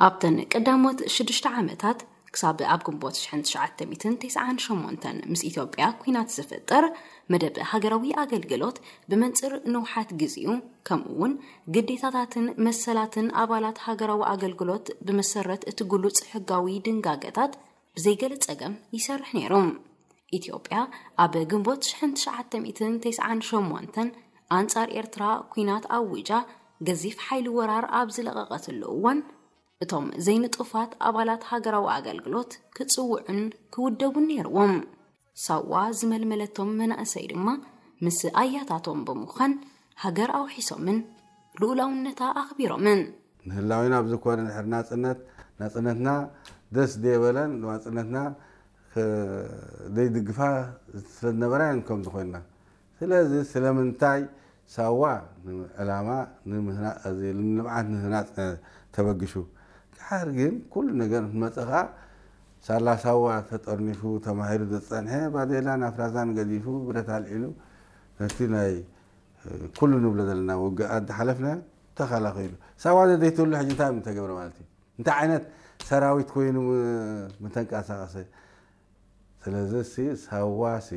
ኣብተን ቀዳሞት ሽዱሽተ ዓመታት ክሳብ ኣብ ግንቦት ሽሕን ትሽዓተ ሚእትን ተስዓን ሸሞንተን ምስ ኢትዮጵያ ኲናት ዝፍጠር መደብ ሃገራዊ ኣገልግሎት ብመንጽር ንውሓት ግዜኡ ከምኡ እውን ግዴታታትን መሰላትን ኣባላት ሃገራዊ ኣገልግሎት ብመሰረት እቲ ግሉጽ ሕጋዊ ድንጋገታት ብዘይገለ ጸገም ይሰርሕ ነይሩ። ኢትዮጵያ ኣብ ግንቦት ሽሕን ትሽዓተ ሚእትን ተስዓን ሸሞንተን ኣንጻር ኤርትራ ኲናት ኣዊጃ ገዚፍ ሓይሊ ወራር ኣብ ዝለቐቐትሉ እዋን እቶም ዘይንጡፋት ኣባላት ሃገራዊ ኣገልግሎት ክጽውዑን ክውደቡን ነይርዎም። ሳዋ ዝመልመለቶም መናእሰይ ድማ ምስ ኣያታቶም ብምዃን ሃገር ኣውሒሶምን ልኡላውነታ ኣኽቢሮምን። ንህላዊና ኣብዚ ኮነ ድሕሪ ናፅነት ናፅነትና ደስ ደየበለን ናፅነትና ዘይድግፋ ስለዝነበራ እየን ከምዚ ኮይና። ስለዚ ስለምንታይ ሳዋ ዕላማ ንልምዓት ንህናፅ ተበግሹ ድሓር ግን ኩሉ ነገር እንትመፀ ከዓ ሳላ ሳዋ ተጠርኒፉ ተማሂሩ ዝፀንሐ ባዴላን ኣፍራዛን ገዲፉ ብረት ኣልዒሉ ነቲ ናይ ኩሉ ንብሎ ዘለና ውግኣት ዝሓለፍና ተኸላኺሉ። ሳዋ ዘዘይትህሉ ሕጂ እንታይ ምተገብረ ማለት እዩ? እንታይ ዓይነት ሰራዊት ኮይኑ ምተንቀሳቐሰ? ስለዚ ሲ ሳዋ ሲ